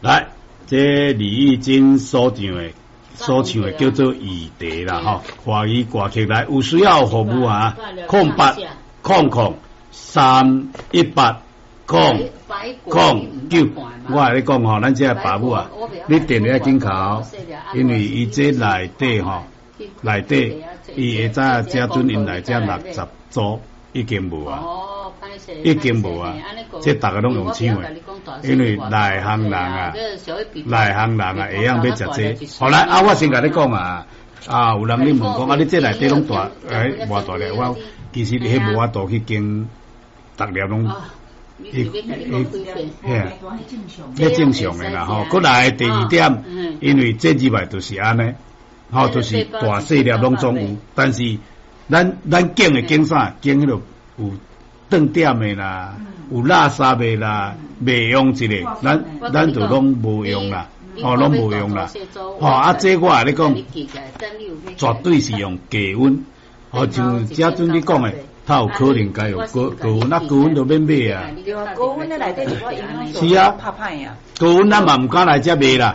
來，這李玉珍所唱的叫做《雨蝶》啦，吼，華語歌曲來，有需要服務啊，0800318009，我共你講吼，咱這爸母啊，你電話緊敲，因為伊這內底吼，內底伊會知這陣𪜶來這60組已經無啊，已經無啊，這逐个攏用搶的，因為內行人啊，內行人啊會曉欲食這。好來，啊，我先共你講啊，啊，有人你問講啊，你這內底攏大，欸，偌大粒？我其實彼無法度去經，逐粒攏。伊伊嘿，彼正常的啦吼。閣來第二點，因為這入來就是按呢，吼，就是大細粒攏總有，但是咱揀的揀啥？揀彼個有頓點的啦，有垃圾的啦，袂用一个，咱就攏無用啦，吼，攏無用啦。吼，啊，這我共你講，絕對是用低溫，吼，像這陣你講的。他有可能該用高高溫，啊高溫就免買啊。對啊，高溫的內底一寡營養素是啊，拍歹啊。高溫咱嘛毋敢來遮賣啦，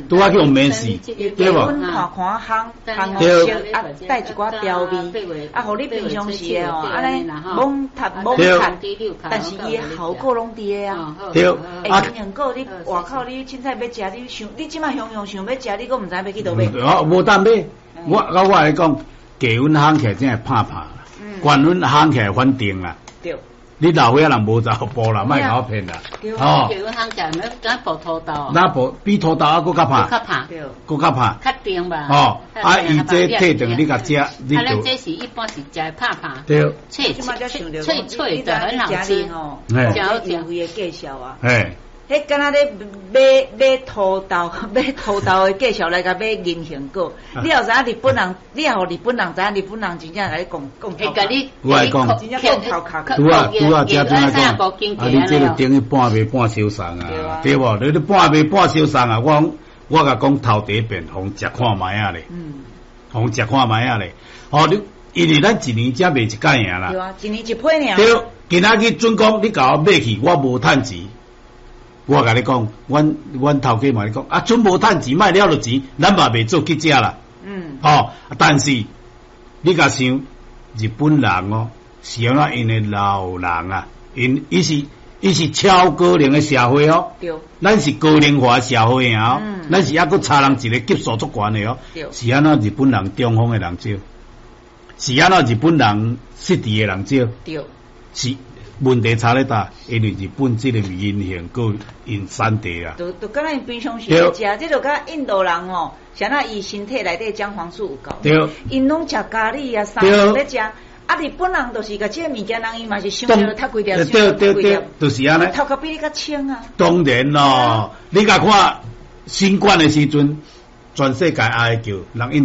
拄仔去用免死，對無？溫看看烘烘熟啊，帶一寡調味，啊，予你平常時的哦，按呢猛讀猛讀，但是伊的效果攏佇个啊。對。欸，營養果你外口你凊彩欲食，你想你這擺雄雄想欲食，你閣毋知欲去佗買。哦，無當買。我共你講，低溫烘起來真會拍拍。懸溫烘起來反定啦，對，你老歲仔人無查埔啦，莫共我騙啦，吼。低溫烘起來，敢薄土豆。那薄比土豆猶閣較拍，較拍，閣較拍，較甜吧。吼，啊，伊這退轉你共食，你啊，咱這是一般是食拍拍，對，脆脆脆脆的，很好吃。嘿，優惠的介紹啊。嘿。彼敢若咧買買土豆，買土豆的介紹來共買銀杏果。你也知影日本人，你也予日本人知影日本人真正共你講講頭殼。我來講，真正講頭殼。拄啊拄啊，遮陣來講，啊，你這個等於半賣半相送啊，對無？你半賣半相送啊，我講我共講頭第一遍，予食看覓仔咧，予食看覓仔咧。吼，你因為咱一年才賣一擺爾啦。對啊，一年一批爾。對，今仔日準講，你共我買去，我無趁錢。我共你講，阮頭家嘛咧講，啊，準無趁錢，莫了著錢，咱嘛袂做記者啦。吼，但是你共想，日本人哦，是按怎𪜶的老人啊，𪜶伊是超高齡的社會哦。咱是高齡化社會啊，咱是猶閣差人一個級數足懸的哦。是按怎日本人中風的人少？是按怎日本人失智的人少？是。問題差咧佗？因為日本這個銀杏果𪜶產地啊，就就敢若𪜶平常時咧食，這就佮印度人吼，啥那伊身體內底薑黃素有夠，𪜶攏食咖喱啊，啥攏咧食。啊，日本人就是共這个物件，人伊嘛是想著讀幾粒，對對對，就是按呢。頭殼比你較清啊。當然咯，你共看新冠的時陣，全世界哀叫人。